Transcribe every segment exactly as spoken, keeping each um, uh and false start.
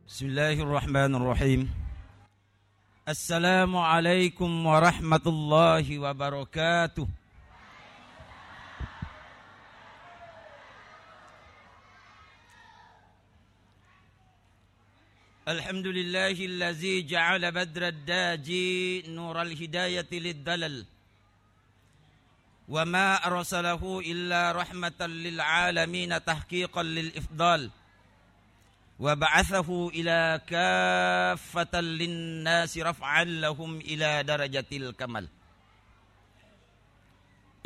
بسم الله الرحمن الرحيم. السلام عليكم ورحمة الله وبركاته. الحمد لله الذي جعل بدر الداجي نور الهداية للدلل، وما أرسله إلا رحمة للعالمين تحقيقا للإفضال، وبعثه إلى كافة للناس رفعا لهم إلى درجة الكمال.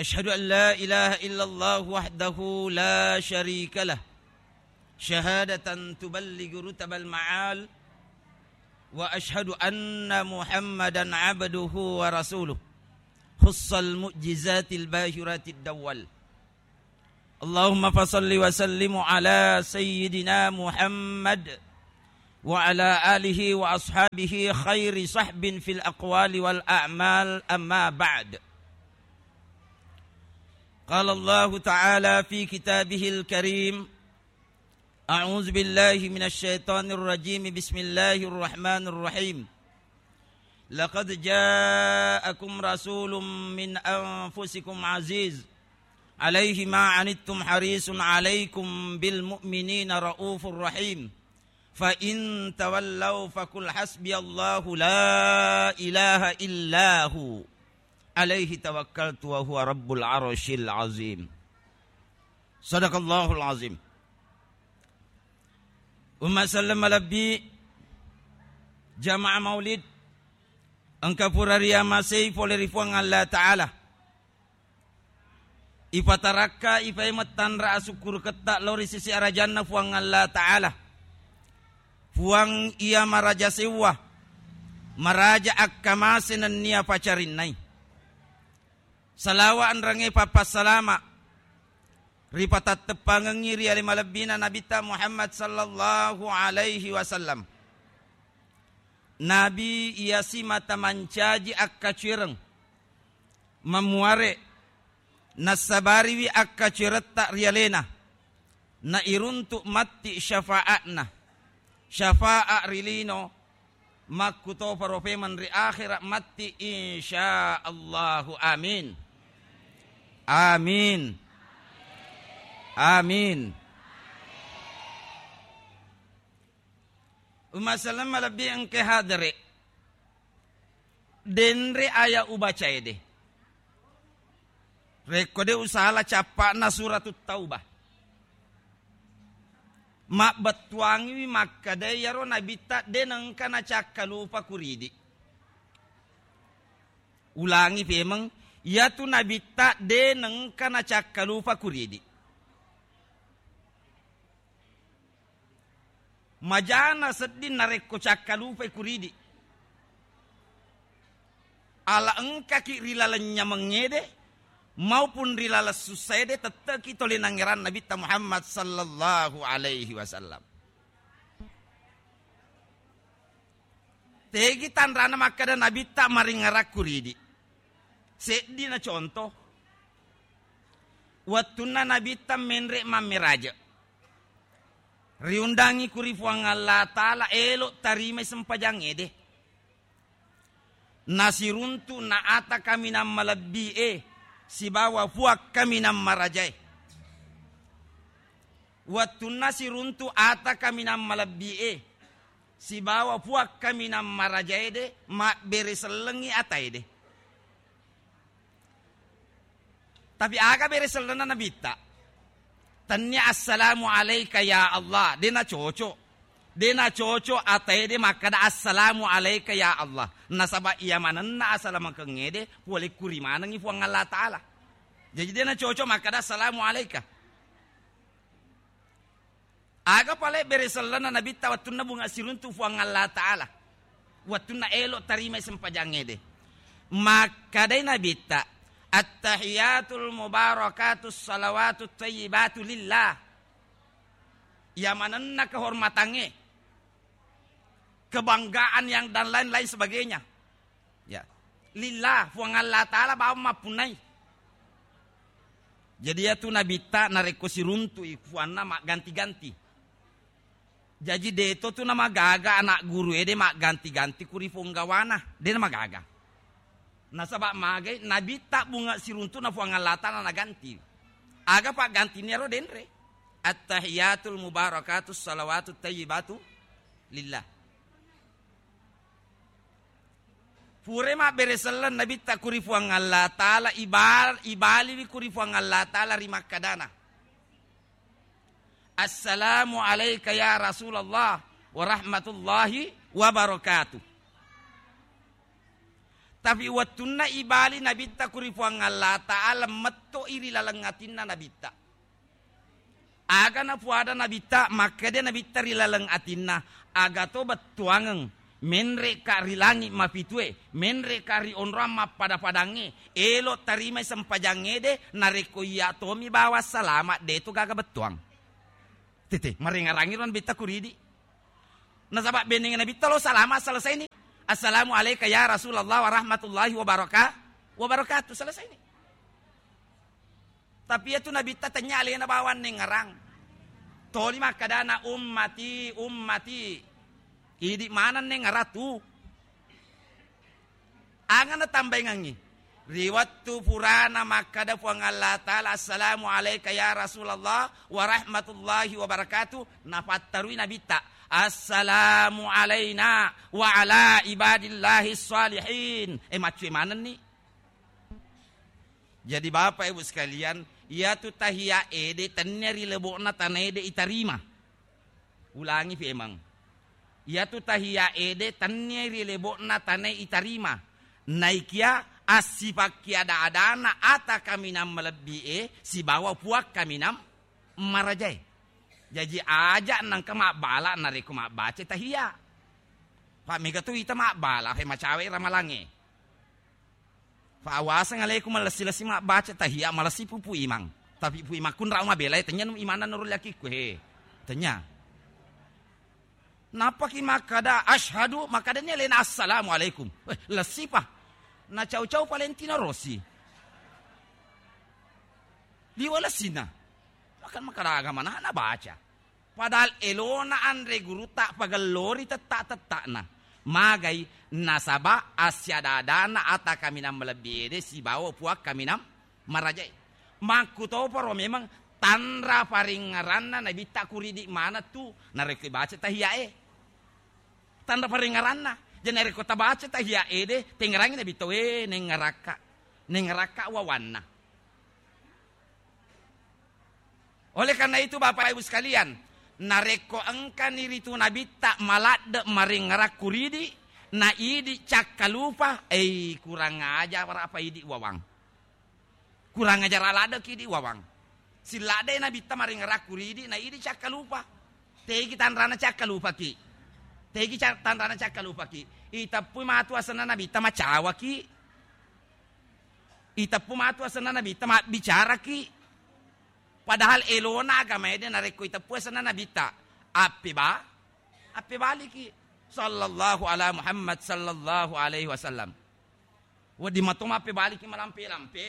أشهد أن لا إله إلا الله وحده لا شريك له، شهادة تبلغ رتب المعال، وأشهد أن محمدا عبده ورسوله، خص المعجزات الباهرات الدول. اللهم فصل وسلم على سيدنا محمد وعلى آله وأصحابه خير صحب في الأقوال والأعمال، أما بعد. قال الله تعالى في كتابه الكريم: أعوذ بالله من الشيطان الرجيم. بسم الله الرحمن الرحيم. لقد جاءكم رسول من أنفسكم عزيز عليه ما عنتم حريص عليكم بالمؤمنين رءوف رحيم. فإن تولوا فقل حسبي الله لا إله إلا هو عليه توكلت وهو رب العرش العظيم. صدق الله العظيم. Umma selleng malebbi, jamaah maulid, engka pura riamasei pole ri Puang Allah Ta'ala. Ipatarakka, ipaimeng tanra asukkuruketta lao ri sisi arajanna Puang Allah Ta'ala. Puang iya maraja sewwa, maraja akkamase nennia pacarinnai. Salawa enrengnge pappassalama ripatatteppangengngi ri ale malebbina Nabitta Muhammad sallallahu alaihi wasallam. Nabi iya simata mancaji akkacuereng, mamuare, nassabariwi akkacueretta ri alena, nairuntu matti syafaatna, syafaat ri lino, makkutoparo pemeng ri akhera matti, insya Allahu. Amin. Amin. Amin. Umma selleng malebbi engke hadere. Denre aya ubacae de. Rekko de usala cappa'na Suratut Taubah. Mabbettuangiwi makkeda iyaro Nabitta de nengka nacakkalupa kuridi. Ulangi pemeng, iyatu Nabitta de nengka nacakkalupa kuridi. Majana sedding narekko cakkalupai kuridi. Ala engkaki ri laleng nyamengngede maupun ri laleng sussaede, tetteki tole nangngerang Nabitta Muhammad sallallahu alaihi wasallam. Tegi tanrana makkeda Nabitta maringngerang kuridi. Seddina contoh. Wettunna Nabitta menre mammeraje, riundangi kuri Puang Allah Ta'ala, elo tarimai sempajangngede. Nasiruntu na ata kaminang malebbi e sibawa Puang kaminang marajae. Wettunna siruntu ata kaminang malebbi e sibawa Puang kaminang marajae de, mabbere sellengngi atae de. Tapi aga bere sellenna Nabitta? Tennia assalamu alaika ya Allah, de nacoco. De nacoco atae de makkeda assalamu alaika ya Allah. Nasaba iya manenna asalamakengngede pole kuri manengngi Puang Allah Ta'ala. Jadi de nacoco makkeda assalamu alaika. Aga pale bere sellenna Nabitta wettunna bunga siruntu Puang Allah Ta'ala, wettunna elo tarimai sempajangngede? Makkedai Nabitta, "Attahiyatul mubarakatus salawatut thayyibatu lillah." Iya manenna kehormatangnge, kebanggaan yang dan lain-lain sebagainya. Ya. Lillah, Puang Allah Ta'ala bawang mappunnai. Jadi iyatu Nabitta narekko siruntu'i puanna magganti-ganti. Jaji, deto tu namagaga anak guru ede magganti-ganti ku ri ponggawana. De namagaga. Nasaba magai Nabitta bunga siruntu'na Puang Allah Ta'ala naganti. Aga paggantinna ro denre? Attahiyatul mubarakatus salawatut tayyibatu lillah. Pura mabbere selleng Nabitta ku ri Puang Allah Ta'ala, ibal-, ibaliwi ku ri Puang Allah Ta'ala ri makkadana, "Assalamu alaika ya Rasulullah wa rahmatullahi wa barakatuh." Tapi wettunna ibali Nabitta ku ri Puang Allah Ta'ala, metto'i ri laleng atinna Nabitta. Aga napuada Nabitta, makkeda Nabitta ri laleng atinna, "Aga to bettuangeng, menre'ka ri langi mapitue, menre'ka ri onroang mappada-padangnge, elo tarimai sempajangngede, narekko iya tomi bawang salama, de to gaga bettuang." Tete, marengarangi ro Nabitta kuridi. Nasaba beneng Nabitta lo salama, selesai ni. "Assalamu alaika ya Rasulullah wa rahmatullahi wa baraka-, wa barakatuh." Selesai ni. Tapi iyatu Nabitta tennya alena bawang nengngerang. Toli makkadana, "Ummati, ummati." Idi maneng nengngerang tu. Aga natambaingengngi? Ri wettu purana makkada Puang Allah Ta'ala, "Assalamu alaika ya Rasulullah wa rahmatullahi wa barakatuh," nafattarui Nabitta, "Assalamu alaina wa ala ibadillahi shalihin." Eh, maccue manenni. Jadi, Bapak Ibu sekalian, iyatu tahiyya ede tennia ri lebo'na tanae de itarima. Ulangi pemeng. Iyatu tahiyya ede tennia ri lebo'na tanae itarima. Naikia assipakkiada-adana ata kaminang malebbi'e sibawa puang kaminang marajae. Jaji, aja nengka mabbala narekko mabbaca tahiyya. Pa mega tu ita mabbala, he, macawe ramalangnge. Fa awaseng alaikum, malessi-lessi mabbaca tahiyya, malessi pupu imang. Tapi pu imang kunrau mabelai, tennya nu imanna nurul yakikku, he. Tennya. Nappaki makkada, "Asyhadu," makkadani alena, "Assalamu alaikum." Eh, lessi pa. Nacau-cau palentino rosi. Liwa lessina. Makan makkada agama na, nabaca. Padahal elona anre gurutta pagellori tetta-tetta'na. Magai nasaba assiada-adana ata kaminang malebbi ede sibawa puang kaminang marajae. Makkutoparo memeng tanra paringngeranna Nabitta kuridi maneng tu narekko ibaca tahiyyae. Tanra paringngeranna. Jadi narekko tabaca tahiyya ede, tengngerangi Nabitta, "We, nengngerakka. Nengngerakka wawanna." Oleh karena itu, Bapak Ibu sekalian, narekko engkani ritu Nabitta maladde maringngerang kuridi, na idi cakkalupa, ei, kurang ajar apa idi wawang. Kurang ajar aladdeki idi wawang. Silladdei Nabitta maringngerang kuridi, na idi cakkalupa. Tegi tanrana cakkalupaki. Tegi ca-, tanrana cakkalupaki. Iteppui matu asenna Nabitta macawaki. Iteppu matu asenna Nabitta mabbicaraki. Padahal elona agama ede narekko iteppu asenna Nabitta. Appeba-, appebaliki. Sallallahu ala Muhammad sallallahu alaihi wasallam. Wedding mato mappebaliki malampe-lampe.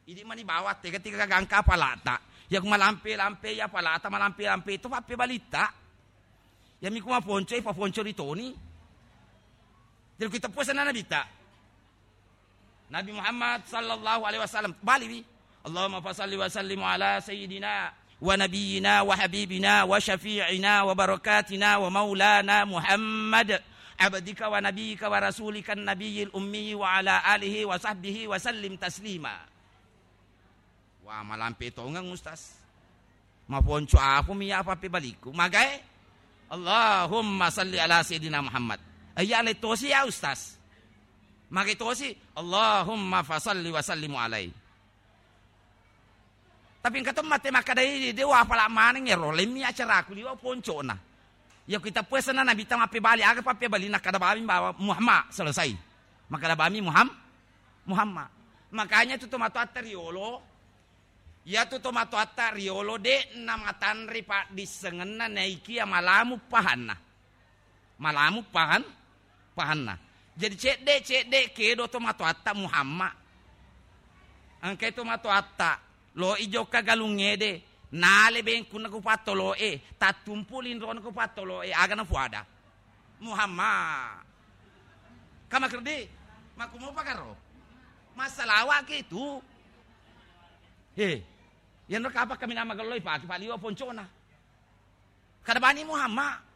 Idi mani bawang tega-tega gangka apalata. Yaku malampe-lampe, ya apalata malampe-lampe itu pappebalitta. Yami ku maponco, ipaponco ri toni. Jadi ku iteppu asenna Nabitta. Nabi Muhammad sallallahu alaihi wasallam, baliwi. Allahumma fasalli wa sallim ala sayyidina wa nabiyyina wa habibina wa syafi'ina wa barakatina wa maulana Muhammad, abdika wa nabiyyika wa rasulika nabiyil ummi wa ala alihi wa sahbihi wa sallim taslima. Wah, malampe tongeng, Ustaz. Maponco apumi ya pappebalikku. Magae? Allahumma salli ala sayyidina Muhammad. Iya, le tosi ya, Ustaz. Magae tosi? Allahumma fasalli wa sallimu alai. Tapi engka to mate makkadai, de wa apala maneng ero, lemmi acaraku liwa poncona. Iya ku iteppu asenna Nabitta mappebali, aga pappebalina, kada bami bawa Muhammad, selesai. Makkada bami Muham-, Muhammad. Makanya tu tomatoatta riolo, iyatu tomatoatta riolo de namatanre paddissengenna naikia malamu pahanna. Malamu pahan-, pahanna. Jadi cedde-cedde kedo tomatoatta Muhammad. Engkai tomatoatta lo i jokka galungngede, Nale bengkunna ku pattolo'e, tattumpu linrona ku pattolo'e, aga nafuada? Muhammad. Kamakerdi, makkumopa karo? Massalawa ki tu. He, yanro kapa kami nama gelloi pake paliwa poncona. Kada bani Muhammad.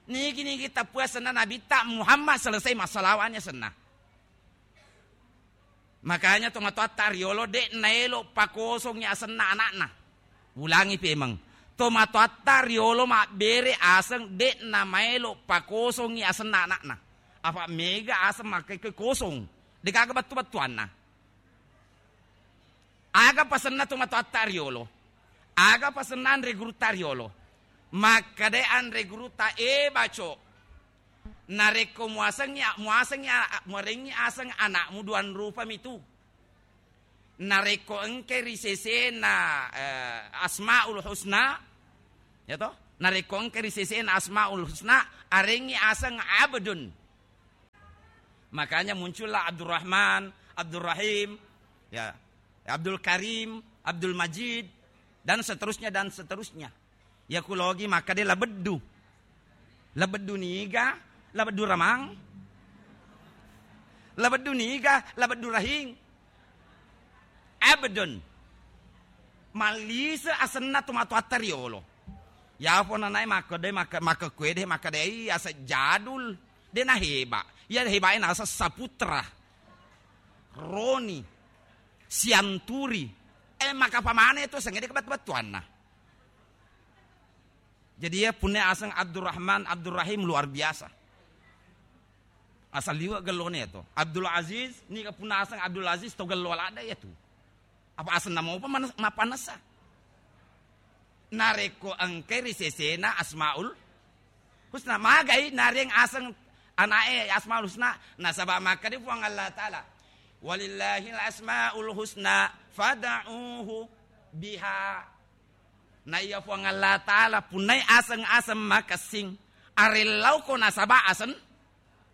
Nigi-nigi tappue asenna Nabitta Muhammad, selesai massalawa ni asenna. Makanya tomatoatta riolo de' naelo pakosongi asenna anakna. Ulangi pemeng. Tomatoatta riolo mabbere aseng de' namaelo pakosongi asenna anakna. Apa mega aseng makkekke kosong. Degaga battu-battuanna. Aga pasenna tomatoatta riolo? Aga pasenna anre gurutta riolo? Makkeda anre gurutta, "E baco, narekko muasengi, muasengi, muarengi aseng anakmu, duang rupa mitu. Narekko engke ri sesena, eh, Asmaul Husna, ya toh? Narekko engke ri sesena Asmaul Husna, arengi aseng Abdun." Makanya muncullah Abdurrahman, Abdurrahim, ya, Abdul Karim, Abdul Majid, dan seterusnya, dan seterusnya. Ya kulogi makkeda Labeddu. Labeddu niga, Labeddu Ramang. Labeddu niga, Labeddu Rahing. Abdun. Mallise asenna tomatoatta riolo. Yapo nanae makkedai, makka-, makkekkuede, makkedai aseng Jadul. De' naheba. Iya hebae naseng Saputra, Roni, Sianturi. Eh, maka pamane tu aseng de' kebattu-battuanna. Jadi ya, punna aseng Abdurrahman, Abdurrahim luar biasa. Asal liwe' gellone ya to. Abdul Aziz, niga punna aseng Abdul Aziz to gello ladde' ya tu. Apa asenna mopa manes-, mappanessa? Narekko engkai ri sesena Asmaul Husna, magai nareng aseng ana'e Asmaul Husna, nasaba makkeda Puang Allah Ta'ala, "Walillahil asmaul husna fad'uhu biha." Na iya Puang Allah Ta'ala punnai aseng-aseng makessing, arellauko nasaba aseng,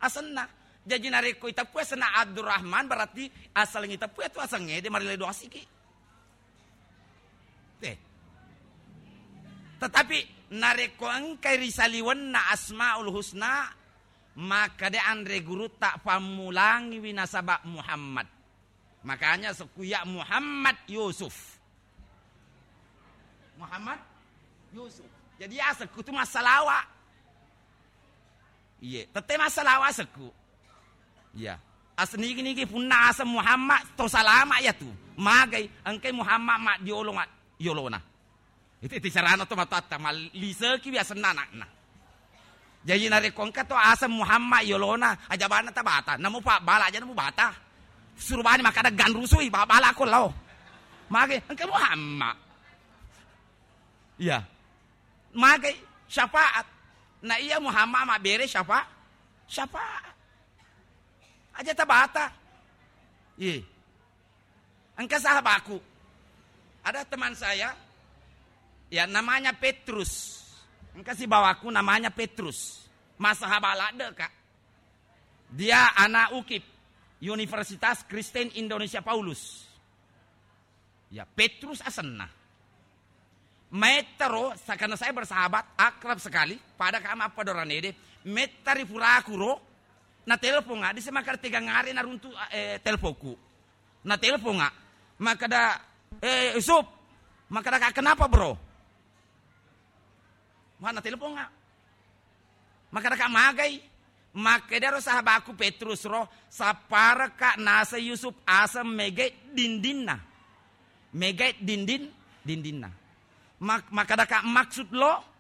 asenna. Jaji narekko iteppu asenna Abdurrahman, berarti assaleng iteppu itu asengnge de' marelle doasiki. Eh. Tetapi narekko engkai ri saliwenna Asmaul Husna, makkeda anre gurutta, pammulangiwi nasaba Muhammad. Makanya sekku iya Muhammad Yusuf. Muhammad Yusuf. Jadi asekku tu massalawa. Iye, tette massalawa asekku. Iya. As nigi-nigi punna aseng Muhammad to salama ya tu. Magai engkai Muhammad maddiolo ma-, yolona. Itu, itu carana to matoatta, malliseki biasenna anakna. Jaji narekko engka to aseng Muhammad yolona, aja bana tabata, namu pabbala aja namu bata. Suru bani makkada ganrusui, ba-, bala ko lao. Mage, engka Muhammad. Iya. Mage syafaat. Na iya Muhammad mabbere syafa-, syafaat. Aja tabata. Iya. Engka sahabaku. Ada teman saya, ya, namanya Petrus. Engka sibawaku namanya Petrus. Massahaba ladde, Kak. Dia anak ukip, Universitas Kristen Indonesia Paulus. Ya, Petrus asenna. Maettaro, sa-, karena saya bersahabat, akrab sekali, pada kama apa doranede, mettari purakuro, na telepon, adi semakar tegang hari naruntu, eh, teleponku. Na telepon nga, makkada, "Eh, Yusuf," makkada, "Kak, kenapa, Bro?" Mana telepon nga, makkada, "Kak, magai?" Makkedaro sahabaku Petrus ro, "Sapparaka naseng Yusuf aseng mege dindinna." Mege dindin, dindinna. Mak-, makkada, "Kak, maksud lo?"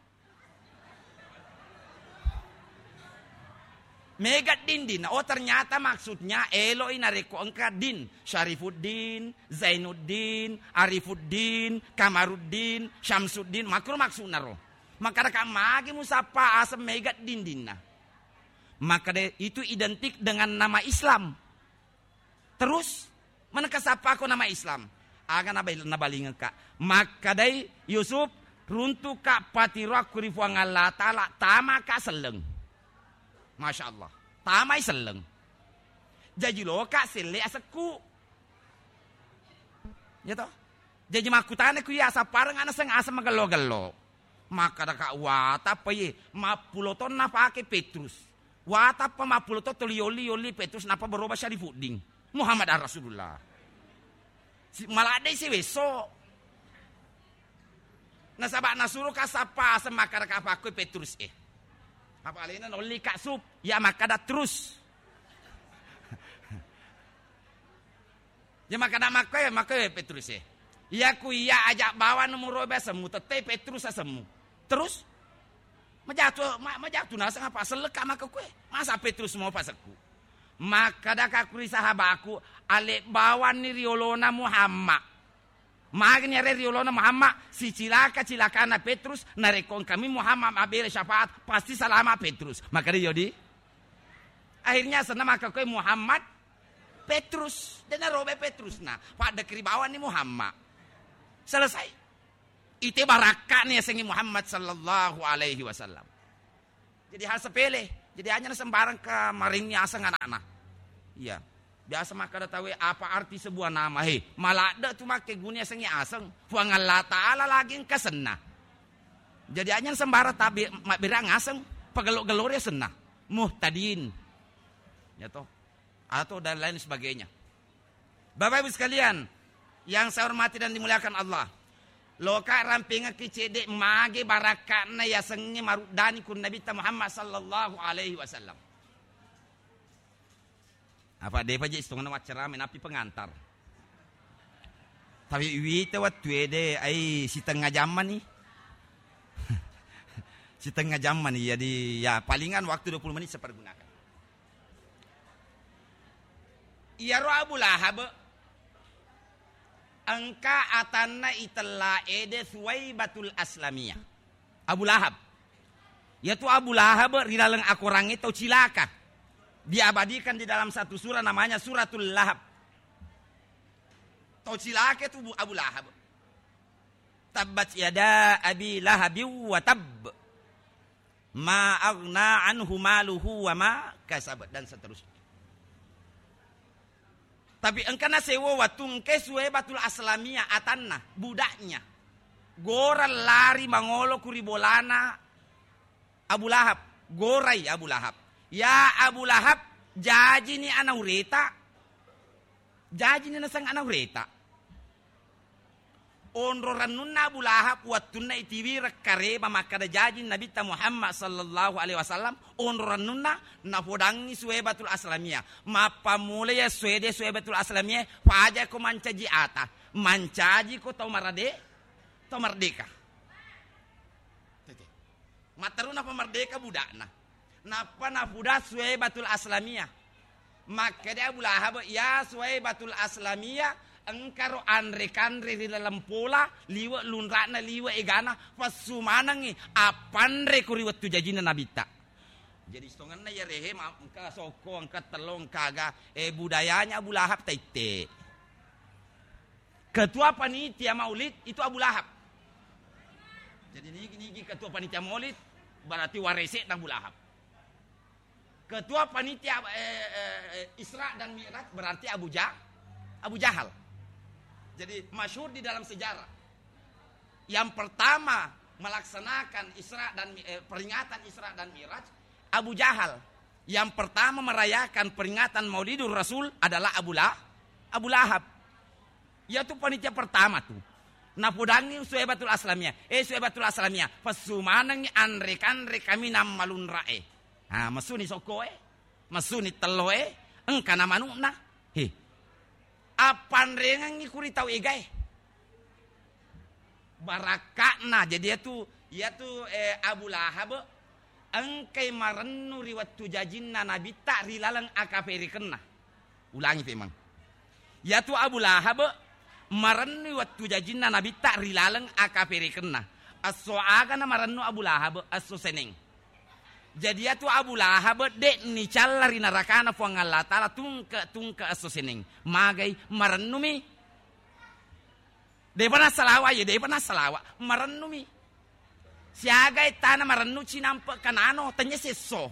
Mega dindin. Oh, ternyata maksudnya eloi narekko engka din. Syarifuddin, Zainuddin, Arifuddin, Kamaruddin, Syamsuddin. Makkuro maksudna ro. Makkada, "Kak, magi musappa aseng mega dindinna?" Makkada, "Itu identik dengan nama Islam." Terus, manengka sappako nama Islam? Aga nabal-, nabalingekka. Makkadai Yusuf, "Runtuka patiroakku ri Puang Allah Ta'ala, tamaka selleng." Masya Allah. Tamai selleng. Jaji loka selle asekku. Ya toh? Jaji makkutana ku iya, sappareng ana seng aseng magello-gello. Makkadaka, "Watappa iye, mappulo tonna pake Petrus. Watappa mappulo to toli yolli-yolli Petrus, nappa berubah Syarifuddin. Muhammad ar Rasulullah." Si-, maladdei siwesso. Nasaba nasuro ka sappa aseng makkadaka pakkoi Petrus e. Apa alena nolli ka sup, ya makkada terus. Ya makkada makkoe, makkoe Petrus e. Iya ku iya aja bawang nomoro be asemmu, tette Petrus asemmu. Terus majatu, ma-, majatu naseng apa sellekka makkoe. Masa Petrus mau pasekku. Makkadaka ku ri sahabaku, ale bawanni riolona Muhammad. Magni are riolona Muhammad, sicilaka-cilakana Petrus, narekko engkami Muhammad mabbere syafaat, pasti salama Petrus. Makkada yodi. Akhirnya senna makkoe Muhammad Petrus, de narobe Petrus na, paddekri bawanni Muhammad. Selesai. Ite barakka'ni yasengnge Muhammad sallallahu alaihi wasallam. Jadi hal sepele. Jadi hanya sembarang ke maringi aseng anakna. Iya. Biasa makkada tawe, "Apa arti sebuah nama?" He, maladde tu makkeguni yasengnge aseng. Puang Allah Ta'ala lagi engka senna. Jadi hanya sembarang tabi mabbere aseng, pagello-gellori senna. Muhtadin. Ya toh. Atau dan lain sebagainya. Bapak Ibu sekalian yang saya hormati dan dimuliakan Allah, loka rampingekki cedde mage barakka'na yasengnge maruddani ku Nabitta Muhammad sallallahu alaihi wasallam. Apa depa je istongenna waccarama, napi pengantar. Tapi wita wettu ede ai sitengnga jammani. Sitengnga jammani, jadi ya palingan waktu dua puluh menit saya pergunakan. Iyaro Abu Lahab engka atanna itella ede Suwaibatul Aslamiyah. Abu Lahab. Yatu Abu Lahab ri laleng akorangnge tau cilaka. Diabadikan di dalam satu surah namanya Suratul Lahab. Tau cilaka itu Bu-, Abu Lahab. Tabbat yada Abi Lahabin wa tabb. Ma aghna anhu maluhu wa ma kasab, dan seterusnya. Tapi engka nasewo wettu engka Suwaibatul Aslamiyah atanna, budaknya. Gora lari mangolo ku ri bolana Abu Lahab. Gorai Abu Lahab. Ya Abu Lahab, jajini anaureta. Jajini naseng anaureta. Onro rennunna Abu Lahab wettunna itiwireng kareba makkada jaji Nabitta Muhammad sallallahu alaihi wasallam, onro rennunna napodangngi Suwaibatul Aslamiyah. Mappammula iya suwede Suwaibatul Aslamiyah, pajako mancaji ata, mancajiko tau marade-, tau merdeka. Tete. Matteru napamerdeka budakna. Nappa napuda Suwaibatul Aslamiyah. Makkeda Abu Lahab, "Ya Suwaibatul Aslamiyah, engkaro anre-kanre ri laleng pola, liwe' lunra'na, liwe' egana, pessu manengngi, appanreko ri wettu jajinna Nabitta." Jadi, sitongenna iya rehe, ma-, engka sokko, engka tello, engka aga, eh, budayanya Abu Lahab taitte. Ketua panitia maulid itu Abu Lahab. Jadi nigi-nigi ketua panitia maulid berarti warese'na Abu Lahab. Ketua panitia, eh, eh, eh, Isra dan Mi'raj berarti Abu Ja-, Abu Jahal. Jadi masyhur di dalam sejarah. Yang pertama melaksanakan Isra dan Mi-, eh, peringatan Isra dan Mi'raj Abu Jahal. Yang pertama merayakan peringatan Maulidur Rasul adalah Abu La-, Abu Lahab. Iyatu panitia pertama tu. Napodangngi Suwaibatul Aslamiyah. Eh, Suwaibatul Aslamiyah, pessu manengngi anre-kanre kaminang malunra'e. Ah, messuni sokkoe, messuni telloe, engkana manu'na. He. Appanrengengngi kuri tau egae. Barakka'na. Jadi iyatu, iyatu, eh, Abu Lahab engkai marennu ri wettu jajinna Nabitta ri laleng akaperekenna. Ulangi pemeng. Iyatu Abu Lahab marennu wettu jajinna Nabitta ri laleng akaperekenna. Esso agana marennu Abu Lahab? Esso Seneng. Jadi iyatu Abu Lahab de' nicalla ri narakana Puang Allah Ta'ala tungke-tungke esso Seneng. Magai? Marennumi. De'pa nassalawa, ye, de'pa nassalawa. Marennumi. Siaga ettana marennu cinampe' kanano, tennia sesso.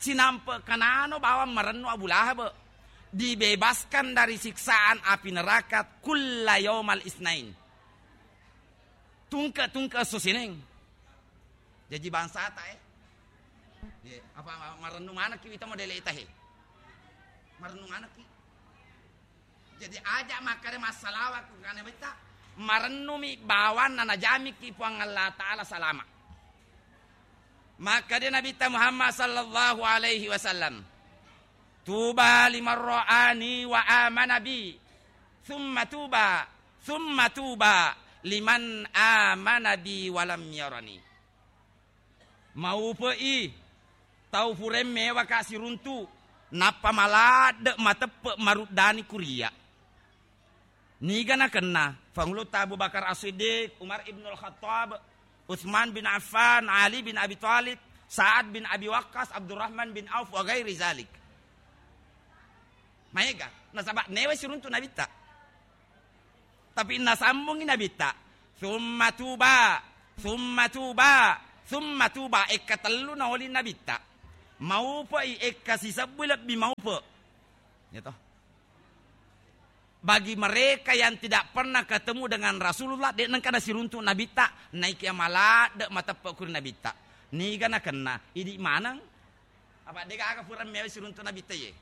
Cinampe' kanano bawang marennu Abu Lahab. dibebaskan dari siksaan api neraka kulla yaumal isnain. Tungke-tungke esso Seneng. Jaji bangsata, eh. Ye, apa ma-, marennu manekki wita modele ita, he? Marennu manekki. Jadi aja makkeda massalawa ku kane betta, marennumi bawanna najamiki Puang Allah Ta'ala salama. Makkeda Nabitta Muhammad sallallahu alaihi wasallam, "Tuba liman ra'ani wa amana bi, thumma tuba, thumma tuba liman amana bi wa lam yarani." Maupe'i tau purae mewaka siruntu, nappa maladde mateppe maruddani kuria. Niga nakenna Pangulutta Abu Bakar As-Siddiq, Umar ibnul Khattab, Utsman bin Affan, Ali bin Abi Thalib, Sa'ad bin Abi Waqqas, Abdurrahman bin Auf, wa ghairi zalik. Maega, nasaba newe siruntu Nabitta. Tapi nasambungi Nabitta, "Summa tuba, summa tuba, summa tuba." Ekka tellu naoli Nabitta. Maupe'i ekka sisebbui lebbi maupe. Ya toh? Bagi mereka yang tidak pernah ketemu dengan Rasulullah, de' nengka nasiruntu Nabitta, naiki maladde mateppe kuri Nabitta. Niga nakenna, idi maneng. Apa de' gaga pura mewa siruntu Nabitta ye.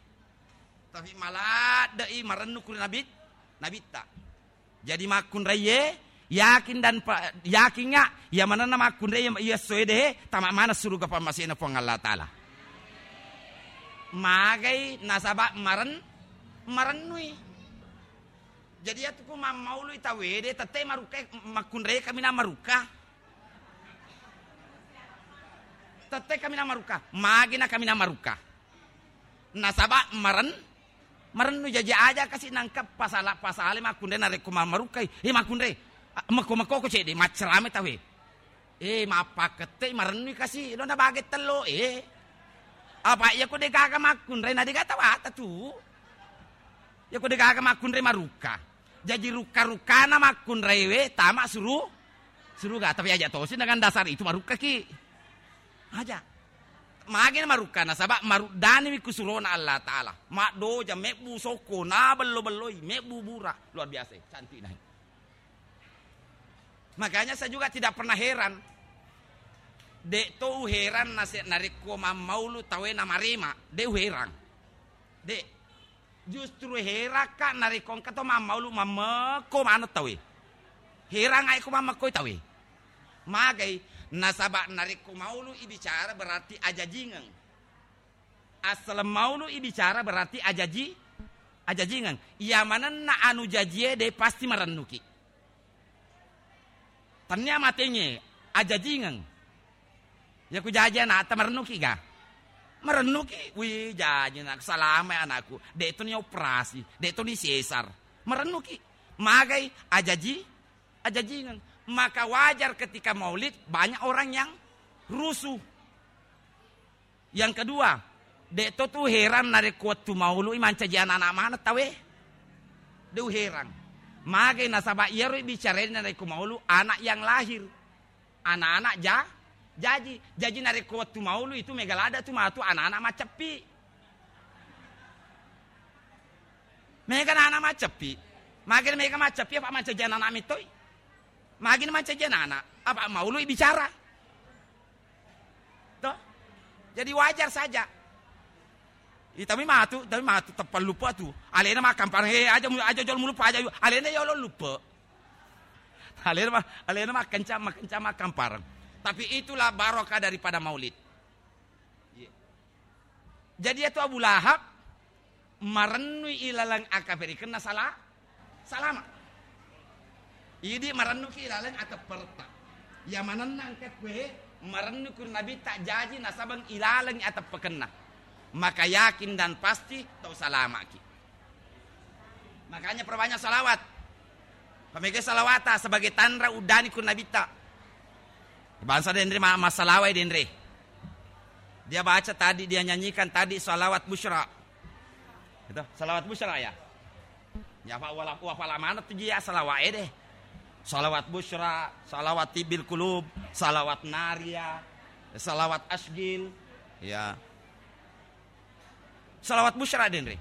Tapi maladde'i marennu kuri Nabit-, Nabitta. Jadi makkunraiye, yakin dan pa-, yakinga, iya manenna makkunraiye, iya essoe de, tama maneng suruga pammasena Puang Allah Ta'ala. Magai nasaba maren-, marennui. Jadi iyatu ku mammaului tauwe de, tette marukka, makkunrai kaminang marukka. Tette kaminang marukka, magina kaminang marukka. Nasaba maren-, marennu jaji aja kasi nangka pasala-, pasale makkunrai narekko ma-, marukkai. Eh, makkunrai, a-, mekko-mekko ko cedde, maccerame tauwe. Eh, mappakkette marennui kasi, lo na bage tello, eh. Apa iya ko de gaga makkunrai, na de gaga tawata tu. Iya ko de gaga makkunrai marukka. Jaji rukka-rukkana makkunraiwe tama suru-, suruga. Tapi aja tosi dengan dasar itu marukkaki. Aja. Magi marukka nasaba maruddaniwi kusurona Allah Ta'ala. Maddoja, mebbu sokko, na bello-belloi, mebbu bura. Luar biasa, cantik nah. Makanya saya juga tidak pernah heran. Dek to uheran nase-, narekko mammaulu tawe namarema. Dek uheran. Dek. Justru herakka narekko engka to mammaulu mammekko maneng tauwe. Herang ae ko mammekkoi tauwe. Magai, nasaba narekko maulu ibicara berarti ajajingeng. Assaleng maulu ibicara berarti ajaji-, ajajingeng. Iya manenna anu jajie de pasti marennuki. Tennia matengnge, ajajingeng. Iya ku jaji anakta, marennuki ga? Marennuki, wih, jaji anakku, salama anakku. Dek to ni operasi, dek to ni sesar. Marennuki. Magai, ajaji, ajajingeng. Maka wajar ketika maulid, banyak orang yang rusuh. Yang kedua, dek to tu heran narekko wettu maului mancaji anak-anak maneng tauwe. De uheran. Magai nasaba iyaro bicarai narekko maulu anak yang lahir. Anak-anak ja-, jaji. Jaji narekko wettu maulu itu mega ladde tu matu anak-anak macceppi. Mega anak-anak macceppi. Magai mega macceppi apa mancaji anak-anak mittoi? Magi mancaji anak-anak? Apa maului bicara? Toh? Jadi wajar saja. Ih, tapi matu, tapi matu, teppang lupa tu. Alena makkampareng, eh, aja mu-, aja jolo mulupa, aja yu-, alena yolo lupa. Alena ma-, alena makkencang, makkencang makkampareng. Tapi itulah barokah daripada maulid. Iya. Jadi iyatu Abu Lahab marennui ilaleng akaferikenna sala-, salama. Idi marennuki ilaleng atepperetta. Iya manenna engka kue marennu kuri Nabitta jaji nasabeng ilaleng ateppekenna. Maka yakin dan pasti tau salamaki. Makanya perbanyak salawat. Pamega salawata sebagai tanra uddani ku Nabitta. Bangsa denre ma-, masalawai denre. Dia baca tadi, dia nyanyikan tadi salawat busyra. Itu, salawat busyra ya. Ya, fa-, wala-, wafala mana tu dia salawat ede. Salawat busyra, salawat tibbil kulub, salawat naria, salawat asgil. Ya. Salawat busyra denre.